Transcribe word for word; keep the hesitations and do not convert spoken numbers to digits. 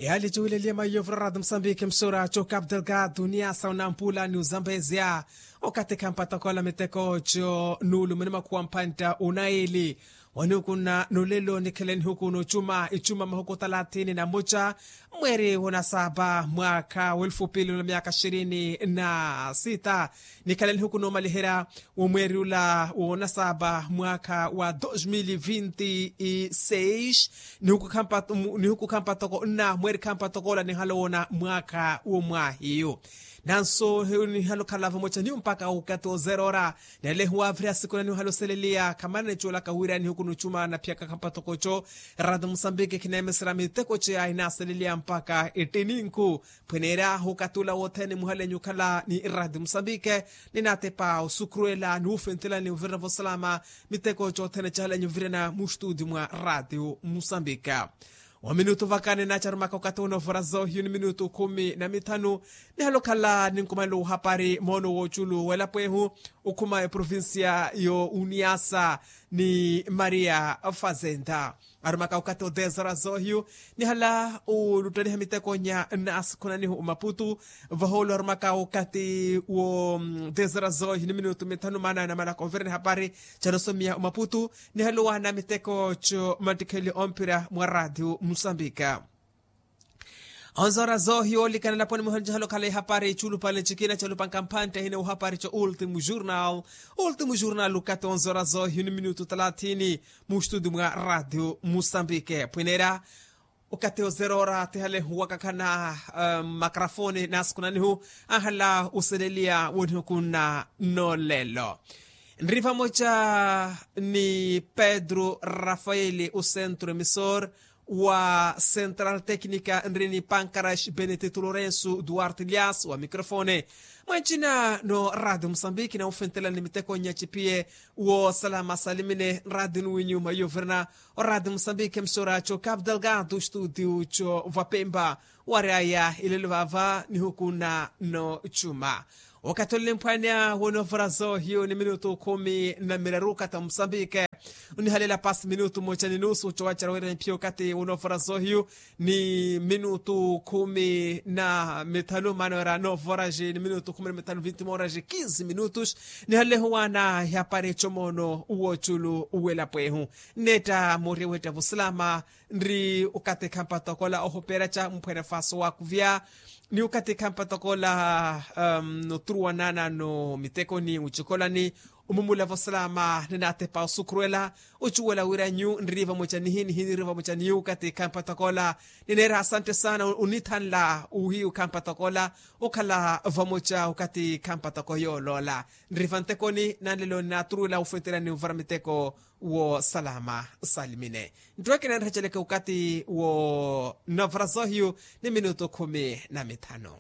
Yaali cuwileliye maiyovura ratu musambiki msura co capital gatu ni asa unampula ni uzambezya. Okathi khampatokoola miteko co nuulumene makhuwa mpantta unaili. Wanihukunna nulelo nikhele nihuku nocuma icuma mahuku talathini na muca, mweeri wonasaba mwakha welfu pili na myakha ishirini na sita. Nikhele nihuku nomaliherya womweeri ula wonasaba mwakha wa dos mil vinti seis. Nihuku khampa toko nna mweeri khampa toko ola nihala woona mwakha womwahiyu. Nanso nihalo khalava moca niyo mpakha okathi ozerora. Nelehiwa vira siku naniyo halo seleliya khamana nicuwelaka wira nihuku nucuma na phiyaka khampa toko co. Ratu musambiki khineemesera miteko ceya hinaseleliya mpakha ettininku. Phweneerya okathi ula wothene muhalenyu okhala ni ratu musambiki. Ninatepa osukhurwela ni wufentela ni wuvirana vosalama miteko cothene cahalenyu ovirana mu studio mwa ratu musambiki. Wa minutu vaka ninacharumaka okathi wonoovoraza ohiyu ni minutu khumi na mithanu. Nihalo okhala ninkumanela ohapari moono woculu welapo ehu okhuma eprovincia yo uniasa ni maria fazenda. Arumaka okathi odesora zohiyu nihala oluttaniha miteko nya nnaasikhunanihu omaputu. Vahoolo arumaka okathi wo desora zohiyu ni minutu mithanu maana namalaka ovirani hapari canosomiya omaputu. Nihala owaana miteko co mattikheli ompira mwa ratu musambika. Onzora zohiyu olikana laponi muhonjehela okhala ihapari culupale cikina calupanka mphantte hina ohapari co ultimu jurnal. Ultimu jurnal okathi onzora zohiyu ni minutu talathini mu studio mwa ratu musambike phwineera. Okathi ozerora thihale wakakhana makarafoni naasikunanihu ahala oseleliya wonihukunna nolelo. Nri vamoca ni pedro rafaeli osentro emisor wa central tecnica nri ni pankarash benetito lorenso duarte lias wa microfone. Mwancina no radio mosambiki na wofentelani miteko nya cipiye wo salama salimine radio ni winyuma yovirina. O radio mosambiki emisora co capital gado studio co vapemba. Wari aya ilelo vava nihukunna no cuma. Wakati olimphwanya wonovorazo hiyo ni minutu khumi na miraru kata mosambike. Onihalela pasi minutu moca ni nusu cowacerya wira niphiyokati wonovorazo hiyo ni minutu khumi na mithanu maana wira novoraji ni minutu khumi na mithanu vinti moraji kinsi minutus. Nihalehu wana hiyapari comono woculu welapo ehu. Netta moriya wetta vosilama nri okathi khampa tokola ohupeera ca mphwene faso wakuvya. Ni okathi khampa tokola noturuwanana no mitekoni mucikolani omumulavo salama ninatepa osukhurwela ocuwela wira nyu nri vamoca nihi nihi nri vamoca niyu okathi khampa tokola. Nineera asante sana onithanla uhiyu khampa tokola okhala vamoca okathi khampa toko yooloola. Nri vantekoni nanlelo ninaturuwela ofwetela ni ovara miteko wo salama salimine. Nttweke nanreceleke okathi wo navarazohiyu ni minutu khumi na mithanu.